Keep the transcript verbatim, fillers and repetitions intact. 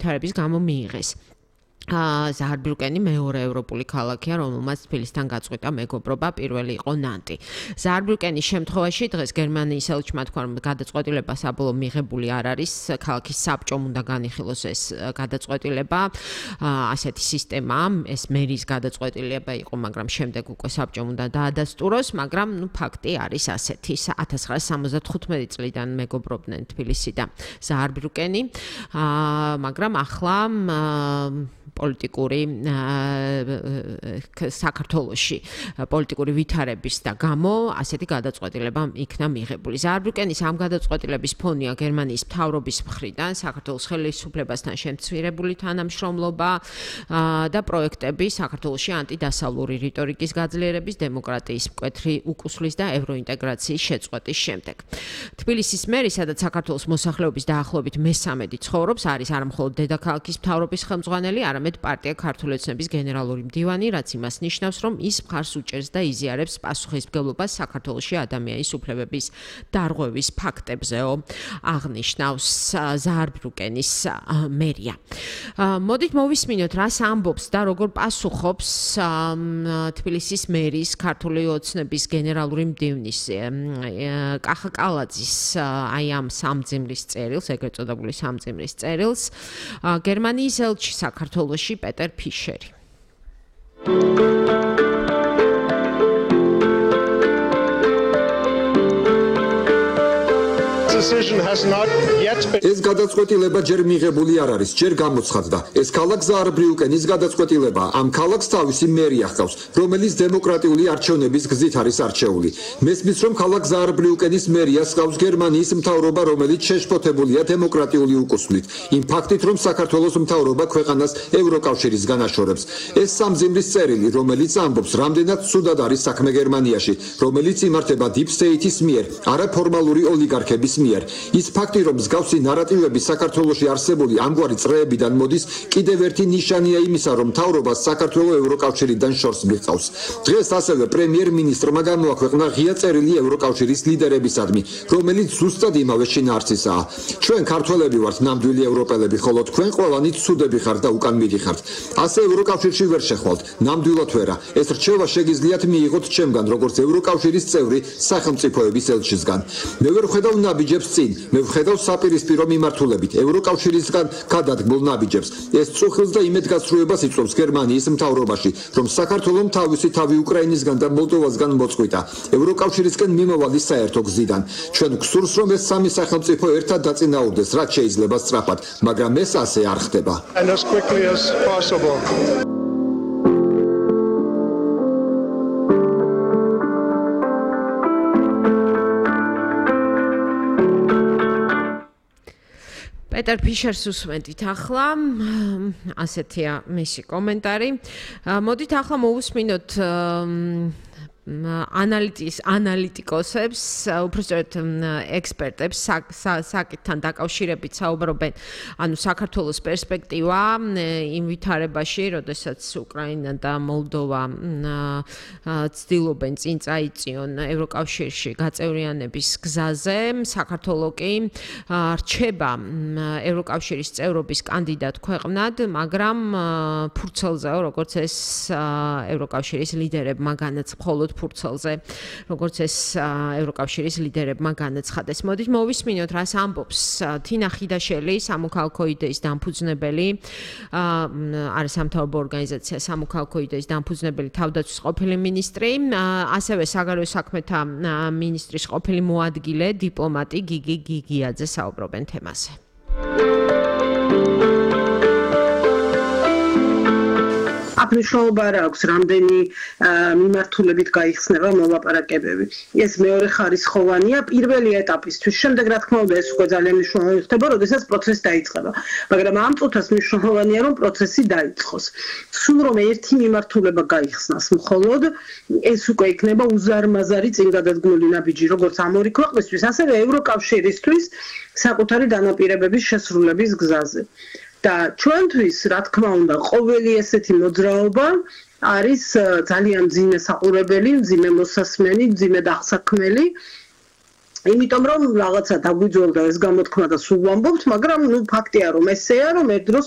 ვითარების გამო მიიღეს. ზაარბრუკენი მეორე ევროპული ქალაქია, რომელმაც თბილისთან გაწყვიტა მეგობრობა, პირველი იყო ნანტი. ზაარბრუკენის შემთხვევაში დღეს გერმანიის ელჩმა თქვა, რომ გადაწყვეტილება საბოლოო მიღებული არ არის, ქალაქის საბჭომ უნდა განიხილოს ეს გადაწყვეტილება. ასეთი სისტემა, ეს მერის გადაწყვეტილება იყო, მაგრამ შემდეგ უკვე საბჭომ უნდა დაადასტუროს, მაგრამ ნუ ფაქტი არის ასეთი. ათას ცხრაასი სამოცდათხუთმეტი წლიდან მეგობრობდნენ თბილისი და ზაარბრუკენი, მაგრამ ახლა პოლიტიკური საქართველოში პოლიტიკური ვითარების და გამო ასეთი გადაწყვეტილება იქნა მიღებული. ზაარბრუკენის ამ გადაწყვეტილების ფონია გერმანიის მთავრობის მხრიდან საქართველოს ხელისუფლებასთან შემცირებული თანამშრომლობა და პროექტები საქართველოში ანტიდასავლური რიტორიკის გაძლიერების, დემოკრატიის მკვეთრი უკუსლის და ევროინტეგრაციის შეწყვეტის შემდეგ. თბილისის მერი, სადაც საქართველოს მოსახლეობის დაახლოებით მესამედი ცხოვრობს, არის არამხოლოდ დედაქალაქის მთავრობის ხელმძღვანელი, არამედ პარტია ქართული ოცნების გენერალური მდივანი, რაც იმას ნიშნავს, რომ ის მხარს უჭერს და იზიარებს პასუხისმგებლობას საქართველოში ადამიანის უფლებების დარღვევის ფაქტებზეო, აღნიშნავს ზაარბრუკენის მერია. მოდით მოვისმინოთ, რას ამბობს და როგორ პასუხობს თბილისის მერის ქართული ოცნების გენერალური მდივნის კახა კალაძის აი ამ სამძიმრის წერილს, ეგრეთ წოდებული სამძიმრის წერილს, გერმანიის ელჩი საქართველოში პეტერ ფიშერი. ეს გადაწყვეტილება ჯერ მიღებული არ არის, ჯერ გამოცხადდა. ეს ქალაქ ზაარბრიუკენის გადაწყვეტილება ამ ქალაქს თავისი მერი ახავს, რომელიც დემოკრატიული არჩევნების გზით არის არჩეული. მესმის, რომ ქალაქ ზაარბრიუკენის მერიას ჰყავს გერმანიის მთავრობა, რომელიც შეშფოთებულია დემოკრატიული უკუსლით. იმ ფაქტით, რომ საქართველოს მთავრობა ქვეყანას ევროკავშირისგან აშორებს. ეს სამძიმრის წერილი, რომელიც ამბობს, რამდენად ცუდად არის საქმე გერმანიაში, რომელიც იმართება deep state-ის მიერ, არაფორმალური ოლიგარქების მიერ. ის ფაქტი, რომ მსგავსი ნარატივები საქართველოში არსებული ამგვარი წრეებიდან მოდის, კიდევ ერთი ნიშანია იმისა, რომ მთავრობას საქართველოს ევროკავშირიდან შორს მიღწავს. დღეს ასევე პრემიერ-მინისტრმა გამოაქვეყნა ღია წერილი ევროკავშირის ლიდერებისადმი, რომელიც ზუსტად იმავე შინაარსისაა. ჩვენ ქართველები ვართ ნამდვილი ევროპელები, ხოლო თქვენ ყველანი ცუდები ხართ და უკან მიდიხართ. ასე ევროკავშირში ვერ შეხვალთ, ნამდვილად ვერა. ეს რჩევა შეგიძლიათ მიიღოთ ჩემგან, როგორც ევროკავშირის წევრი სახელმწიფოების ელჩისგან. მე ვერ ხედავ ნაბიჯებს წინ, მე ვხედავ საპირისპირო მიმართულებით ევროკავშირისგან გადადგმულ ნაბიჯებს. ეს წუხილს და იმედგაცრუებას იწვევს გერმანიის მთავრობაში, რომ საქართველოს თავისი თავი უკრაინისგან და მოლდოვასგან მოწყვიტა ევროკავშირისკენ მიმავალი საერთო გზიდან. ჩვენ გვსურს, რომ ეს სამი სახელმწიფო ერთად დაწინაურდეს, რაც შეიძლება სწრაფად, მაგრამ ეს ასე არ ხდება. პეტერ ფიშერს უსმენთ ახლა, ასეთია მისი კომენტარი. მოდით ახლა მოვუსმინოთ ანალიტის ანალიტიკოსებს, უბრალოდ ექსპერტებს საკითხთან დაკავშირებით საუბრობენ, ანუ საქართველოს პერსპექტივა იმ ვითარებაში, როდესაც უკრაინა და მოლდოვა ცდილობენ წინ წაიწიონ ევროკავშირში გაწევრიანების გზაზე, საქართველოს კი რჩება ევროკავშირის წევრობის კანდიდატ ქვეყნად, მაგრამ ფურცელზეო, როგორც ეს ევროკავშირის ლიდერებმა განაცხადა ფურცელზე, როგორც ეს ევროკავშირის ლიდერებმა განაცხადეს. მოდით მოვისმინოთ, რას ამბობს თინა ხიდაშელი, სამოქალაქო იდეის დამფუძნებელი, არის სამთავრობო ორგანიზაცია სამოქალაქო იდეის დამფუძნებელი თავდაცვის ყოფილი მინისტრი, ასევე საგარეო საქმეთა მინისტრის ყოფილი მოადგილე, დიპლომატი გიგი გიგიაძე საუბრობენ თემაზე. აქ მნიშვნელობა არ აქვს, რამდენი მიმართულებით გაიხსნება მოლაპარაკებები. ეს მეორე ხარისხოვანია პირველი ეტაპისთვის. შემდეგ რა თქმა უნდა ეს უკვე ძალიან მნიშვნელოვანი ხდება, როდესაც პროცესი დაიწყება. მაგრამ ამ წუთას მნიშვნელოვანია, რომ პროცესი დაიწყოს. სულ რომ ერთი მიმართულება გაიხსნას მხოლოდ, ეს უკვე იქნება უზარმაზარი წინგადადგმული ნაბიჯი, როგორც ამ ორი ქვეყნისთვის, ასევე ევროკავშირისთვის საკუთარი დანაპირებების შესრულების გზაზე. და ჩვენთვის, რა თქმა უნდა, ყოველი ესეთი მოძრაობა არის ძალიან მძიმე საყურებელი, მძიმე მოსასმენი, მძიმე დასაქმელი იმიტომ რომ რაღაცა დაგვიძველდა ეს გამოთქმა და სულ ვამბობთ, მაგრამ ნუ ფაქტია რომ ესეა, რომ ერთ დროს